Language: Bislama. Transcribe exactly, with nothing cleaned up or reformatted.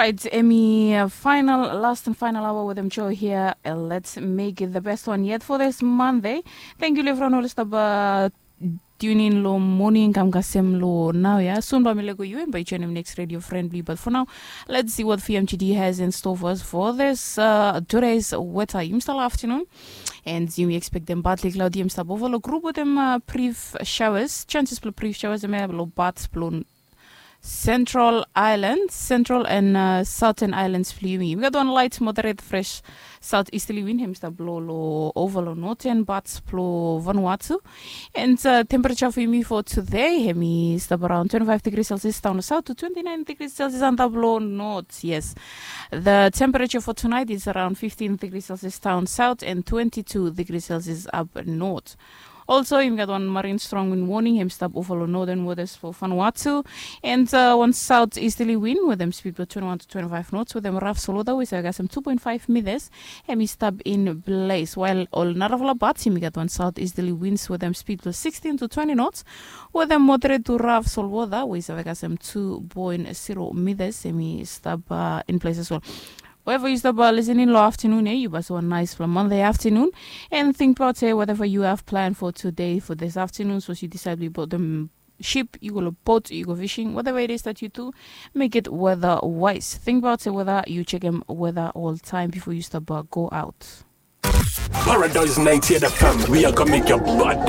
Right, emi final, last and final hour with em show here. Uh, let's make it the best one yet for this Monday. Thank you, Levron Olistaba. Tune in lo morning kam kasem lo now ya. Soon ba mi lego you and by join him next radio friendly. But for now, let's see what F M G D has in store for us for this uh, today's weather. Yumi start afternoon and yumi expect them partly cloudy. Yumi start over lo group with them uh, brief showers. Chances for brief showers. Yumi have lo bad blown Central Island, Central and uh, Southern Islands blong yumi. Yumi gat wan light moderate fresh southeasterly wind, hem stap blo lo over lo northern parts blo Vanuatu. And uh, temperature for yumi for today, hem i stap around twenty-five degrees Celsius down south to twenty-nine degrees Celsius antap lo north. Yes, the temperature for tonight is around fifteen degrees Celsius down south and twenty-two degrees Celsius up north. Also, yumi gat wan marine strong wind warning, hem stap over lo northern waters for Vanuatu. And uh, wan southeasterly wind with hem speed blo twenty-one to twenty-five knots with hem rough solwota wey save kasem two point five meters, hem i stap in place. While ol narafala parts, yumi gat wan southeasterly winds with hem speed blo sixteen to twenty knots with hem moderate to rough solwota wey save kasem two point zero meters, hem i stap uh, in place as well. However, you stop uh, listening lo afternoon, eh? You pass one nice from Monday afternoon and think about eh, whatever you have planned for today for this afternoon. So you decide we bought them ship, you go lo boat, you go fishing, whatever it is that you do, make it weather wise. Think about eh, whether you check them weather all the time before you stop uh, go out. Paradise ninety-eight F M, we are gonna make your body